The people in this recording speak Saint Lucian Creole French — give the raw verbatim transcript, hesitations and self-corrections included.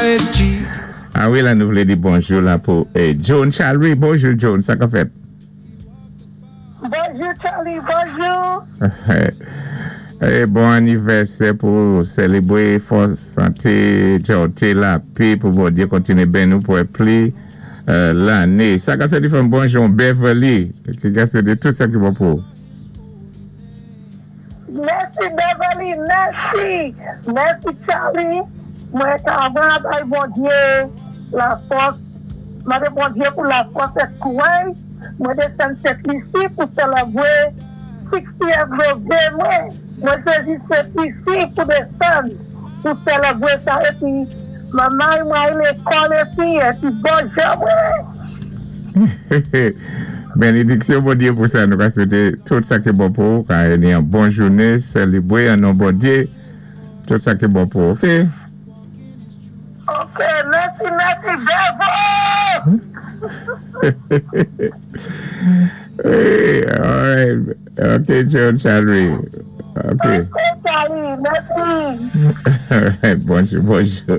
is cheap. A wi, la nou vlé di bonjou la pou eh, John Charlie. Bonjou John, sa ka fèt? Bonjou Charlie, bonjou. Eh, bon anivèsè pou sélébwé fòs, santé, djòté, lapé, pou Bondyé kontiné béni nou pou pli euh, lanné. Sa ka sé di bonjou Beverly, ki ka swété tout sa ki bon pou. Mèsi Beverly, mèsi. Mèsi Charlie. Mwen ka bay Bondyé lafòs. Mandé Bondyé pou lafòs é kouway. Mwen désann Sent Lisi pou sélébwé sixtieth birthday mwen. Mwen chwazi Sent Lisi pou désann pou sélébwé sa épi manman mwen lékòl épi épi bonjou mwen. Bénédiksyon Bondyé pou sa, nou ka swété tout sa ki bon pou, ka ni yon bon jounen, sélébwé an non Bondyé, tout sa ki bon pou, ok? Ok, mèsi, mèsi, Bevo! Hey, all right. Ok, John Charlie. Ok. Ok, Charlie, mèsi. All right, bonjou, bonjou.